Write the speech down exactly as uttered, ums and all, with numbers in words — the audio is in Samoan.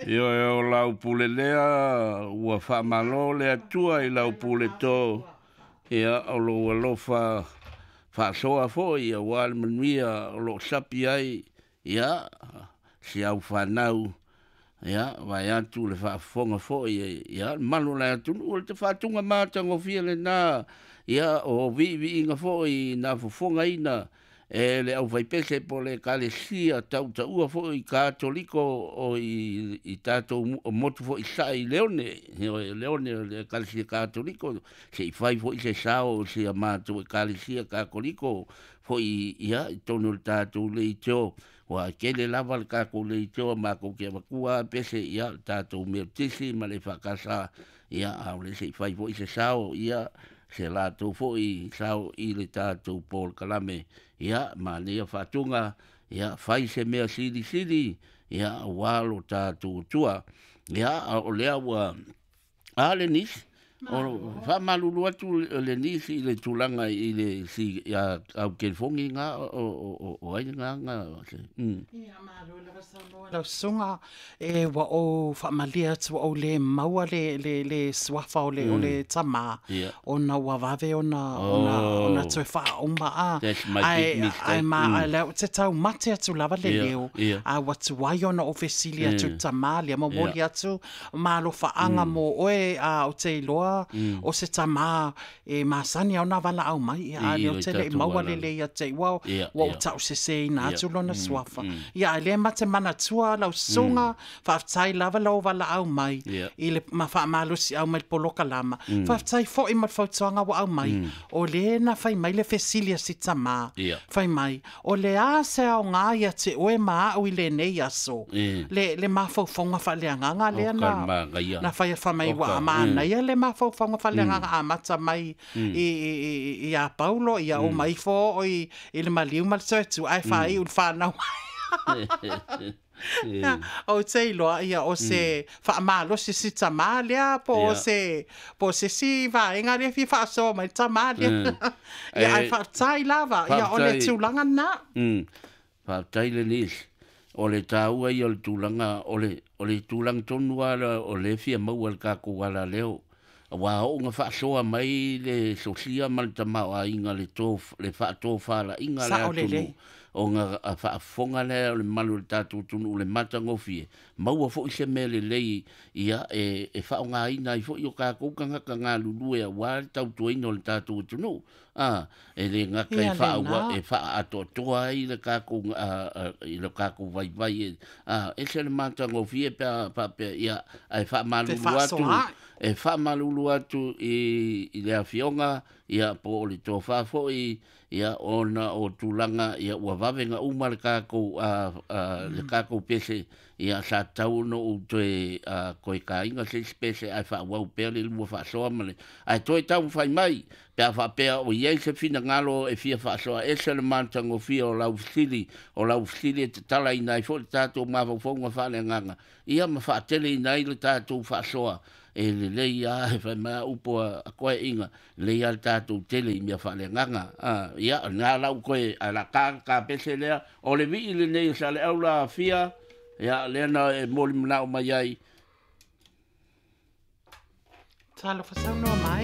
Ioe o lau pule lea ua faamalo le Atua i lau pule to, ia o lou alofa faasoa foi aua le manuia o loo sapi ai ia si au fanau, ia vaeatu le faafofoga foi ia le mamalu o le atunuu. O le tafaatuga matagofie lena ia o viiviiga foi na fofogaina e le aufaipese po o le Ekalesia tautaua foi Katoliko o i, i tatou motu foi sae i Leone, ioe, Leone o le Ekalesia Katoliko, se i fai foi se sao o si a matou Ekalesia Katoliko foi ia i totonu o le tatou leitio, ua tele lava le tatou leitio matou te avatua lava pese ia le tatou Metotisi ma le E F K S, ia a o le se i fai foi se sao ia se latou foi sao i le tatou polokalame. Ia manaia faatuga, ia fai se mea silisili ia aua lo tatou Atua. Ia o lea ua a le nisi o faamalulu atu le nisi i le tulaga i le si au telefoni ga o o o ai ga ga mm. Ia, malo lava saunoa lau susuga. E ua ou faamalie atu ua ou le maua le, le, le suafa o le, mm. o le tamā yeah. ona ua vave ona, ona, Oh. ona toe faauma a. That's my Ae, big mistake. ae ma, Mm. mm. lea ou te taumate atu lava le Yeah, leo. yeah. A ua tuai ona ou fesili atu Mm. tamā lea momoli Yeah. atu malofaaga mm. mo oe a o te iloa mm. o se tamā e masani au na valaau mai ia a I lea le o te le tatou maua ala. lelei ia te ua Yeah, ua ou yeah. tau seseina Yeah. atu lona suafa. Ia, ai lea ma te manatua lau susuga, faafetai lava lou valaau mai Yeah. i le ma faamalosi au mai le polokalama. Faafetai foi ma le fautuaga ua aumai. O lē na fai mai le fesili a si tamā. Yeah. Fai mai, o le a se aoga ia te oe ma au i lenei aso. Mm. Le, le mafaufauga faaleagaga lea O na, ka manaia. na fai fa mai O ua ka- manaia le mafaufauga faaleagaga amata mai i, i, i, i a Paulo, ia o mai fo o i, i le maliu ma le soetu, ae faaiu le whanau. Ia, o te iloa, ia, o se faamalosi si tamā lea, po o Ia. se, po o se si vaega lea fia faasoa mai le tamā lea. Ia, ai Eh, faafetai lava, ia, o le faafetai. tulaga na. Mm. Faafetai le nisi. O le taua ia o le tulaga o le o le tulaga tonu lava o le fia maua le tatou alaleo. Aua oo ina faasoa mai le sosia ma le tamaoaiga le to le faatofalaiga le Sao atunuu lelei. Ona faafofoga lea o le mamalu o le tatou atunuu le matagofie maua foi se mea lelei ia e, e faaaogaina ai foi o tatou tagata galulue aua le tautuaina o le tatou atunuu a e le gata e Ia faaua lena. E faaatoatoa ai le tatou a, a, i le tatou vaivai e a ese le matagofie pe a faapea ia ae faamalulu atu Fefaasoaai. E faamalulu atu i, i le afioga ia po o le tofa foi ia ona o tulaga ia ua vave na uma le tatou a, a, le tatou pese ia sa tatau ona ou toe a, koe kāinga se isi pese ae faaauau pea le lua faasoa ma le ae toe taumafai mai pe a faapea o i ai se finagalo e fia faasoa ese le matagofie o lau fesili o lau fesili e tatalaina ai foi le tatou mafaufauga faaleagaga ia ma faateleina ai le tatou faasoa e lelei a e fai mai a upu a a koeaiga lelei a le tatou tele i mea faaleagaga a ia na lau koe a la ka ka pese lea o le vii lenei o Saleau la afia ia lea na e moli manao mai ai. Talofa saunoa mai.